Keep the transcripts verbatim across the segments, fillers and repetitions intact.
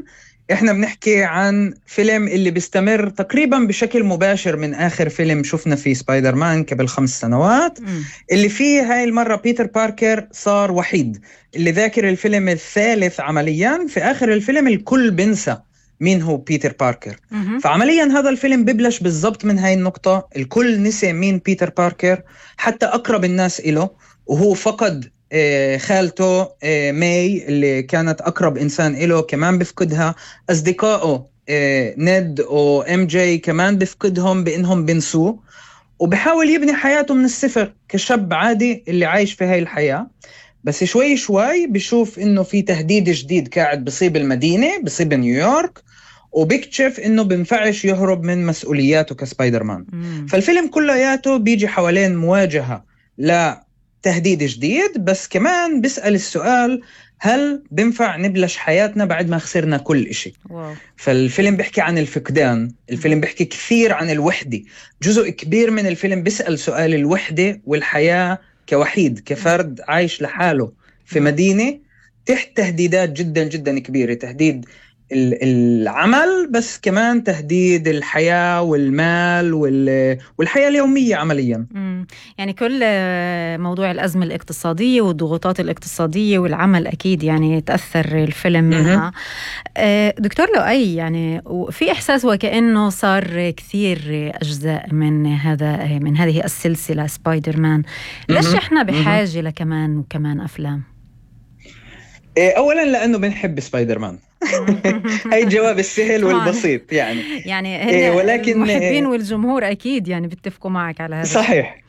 عملياً إحنا بنحكي عن فيلم اللي بيستمر تقريباً بشكل مباشر من آخر فيلم شفنا فيه سبايدر مان قبل خمس سنوات. م. اللي فيه هاي المرة بيتر باركر صار وحيد، اللي ذاكر الفيلم الثالث عملياً في آخر الفيلم الكل بنسى مين هو بيتر باركر. م- فعملياً هذا الفيلم ببلش بالضبط من هاي النقطة، الكل نسي مين بيتر باركر، حتى أقرب الناس إله، وهو فقد خالته ماي اللي كانت أقرب إنسان إله كمان بفقدها، أصدقائه نيد و إم جي كمان بفقدهم بإنهم بنسوه، وبحاول يبني حياته من الصفر كشاب عادي اللي عايش في هاي الحياة. بس شوي شوي بيشوف إنه في تهديد جديد قاعد بصيب المدينة، بصيب نيويورك، وبيكتشف إنه بنفعش يهرب من مسؤولياته كسبايدر مان. مم. فالفيلم كلياته بيجي حوالين مواجهة لا تهديد جديد، بس كمان بيسأل السؤال هل بنفع نبلش حياتنا بعد ما خسرنا كل إشي. واو. فالفيلم بيحكي عن الفقدان، الفيلم بيحكي كثير عن الوحدة، جزء كبير من الفيلم بيسأل سؤال الوحدة والحياة كوحيد، كفرد عايش لحاله في مدينة تحت تهديدات جدا جدا كبيرة، تهديد العمل بس كمان تهديد الحياة والمال والحياة اليومية عمليا. مم. يعني كل موضوع الأزمة الاقتصادية والضغوطات الاقتصادية والعمل أكيد يعني تأثر الفيلم منها. دكتور لؤي، يعني في إحساس وكأنه صار كثير أجزاء من هذا من هذه السلسلة سبايدر مان، ليش إحنا بحاجة لكمان وكمان أفلام؟ أولا لأنه بنحب سبايدر مان. هاي الجواب السهل والبسيط يعني. يعني إيه، ولكن المحبين والجمهور أكيد يعني بيتفقوا معك على هذا. صحيح الشيء.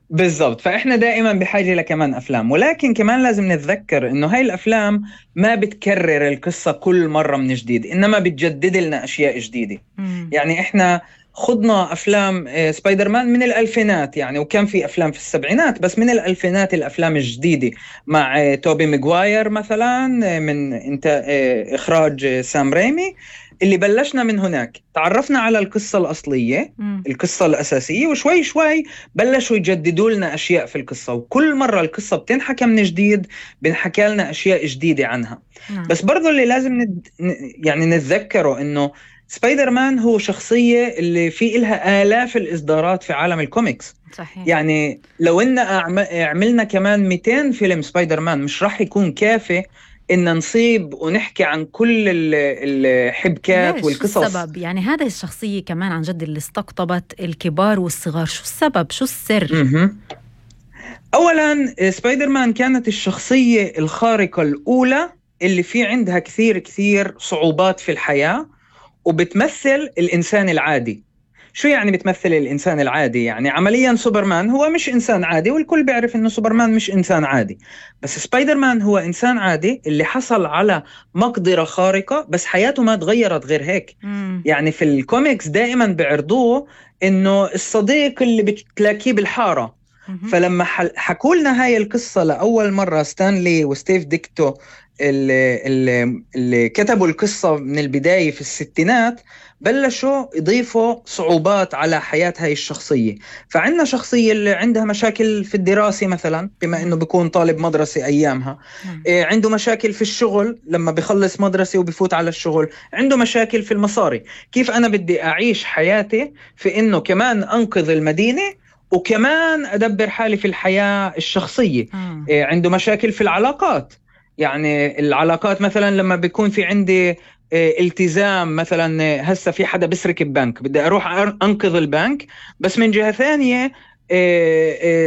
بالضبط، فإحنا دائما بحاجة لكمان أفلام، ولكن كمان لازم نتذكر إنه هاي الأفلام ما بتكرر القصة كل مرة من جديد، إنما بتجدد لنا أشياء جديدة. مم. يعني إحنا خضنا أفلام سبايدر مان من الألفينات يعني، وكان في أفلام في السبعينات، بس من الألفينات الأفلام الجديدة مع توبي ماغواير مثلا من انت إخراج سام ريمي، اللي بلشنا من هناك تعرفنا على القصة الأصلية، م. القصة الأساسية، وشوي شوي بلشوا يجددوا لنا أشياء في القصة، وكل مرة القصة بتنحكى من جديد بنحكى لنا أشياء جديدة عنها. م. بس برضو اللي لازم ند... يعني نتذكره إنه سبايدر مان هو شخصية اللي في إلها آلاف الإصدارات في عالم الكوميكس. صحيح. يعني لو إن عملنا كمان مئتين فيلم سبايدر مان مش راح يكون كافي إن نصيب ونحكي عن كل الحبكات والقصص. شو السبب؟ يعني هذه الشخصية كمان عن جد اللي استقطبت الكبار والصغار، شو السبب؟ شو السر؟ م-م. أولاً سبايدر مان كانت الشخصية الخارقة الأولى اللي في عندها كثير كثير صعوبات في الحياة، وبتمثل الإنسان العادي. شو يعني بتمثل الإنسان العادي؟ يعني عملياً سوبرمان هو مش إنسان عادي، والكل بيعرف إنه سوبرمان مش إنسان عادي، بس سبايدر مان هو إنسان عادي اللي حصل على مقدرة خارقة، بس حياته ما تغيرت غير هيك. مم. يعني في الكوميكس دائماً بيعرضوه إنه الصديق اللي بتلاقيه بالحارة. مم. فلما حكوا لنا هاي القصة لأول مرة ستانلي وستيف ديكتو اللي, اللي, اللي كتبوا القصة من البداية في الستينات، بلشوا يضيفوا صعوبات على حياة هاي الشخصية. فعندنا شخصية اللي عندها مشاكل في الدراسة مثلا، بما انه بيكون طالب مدرسة ايامها، إيه عنده مشاكل في الشغل لما بيخلص مدرسة وبيفوت على الشغل، عنده مشاكل في المصاري، كيف انا بدي اعيش حياتي في انه كمان انقذ المدينة وكمان ادبر حالي في الحياة الشخصية. إيه عنده مشاكل في العلاقات، يعني العلاقات مثلا لما بيكون في عندي التزام، مثلا هسه في حدا بسرق البنك، بدي اروح انقذ البنك، بس من جهة ثانية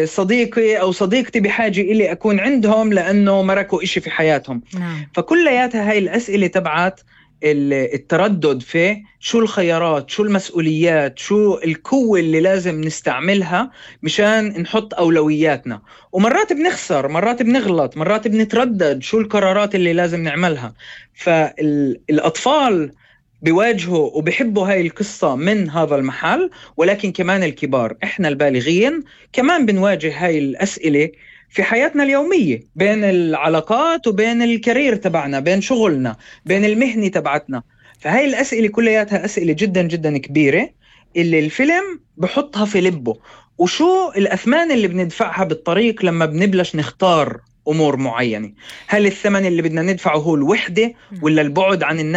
صديقي او صديقتي بحاجة الي اكون عندهم لانه مركوا اشي في حياتهم. نعم. فكلياتها هاي الاسئلة تبعت التردد في شو الخيارات، شو المسؤوليات، شو القوة اللي لازم نستعملها مشان نحط أولوياتنا، ومرات بنخسر، مرات بنغلط، مرات بنتردد شو القرارات اللي لازم نعملها. فالأطفال بيواجهوا وبيحبوا هاي القصة من هذا المحل، ولكن كمان الكبار إحنا البالغين كمان بنواجه هاي الأسئلة في حياتنا اليومية، بين العلاقات وبين الكارير تبعنا، بين شغلنا، بين المهنة تبعتنا. فهاي الأسئلة كلياتها أسئلة جدا جدا كبيرة اللي الفيلم بحطها في لبه، وشو الأثمان اللي بندفعها بالطريق لما بنبلش نختار أمور معينة. هل الثمن اللي بدنا ندفعه هو الوحدة ولا البعد عن الناس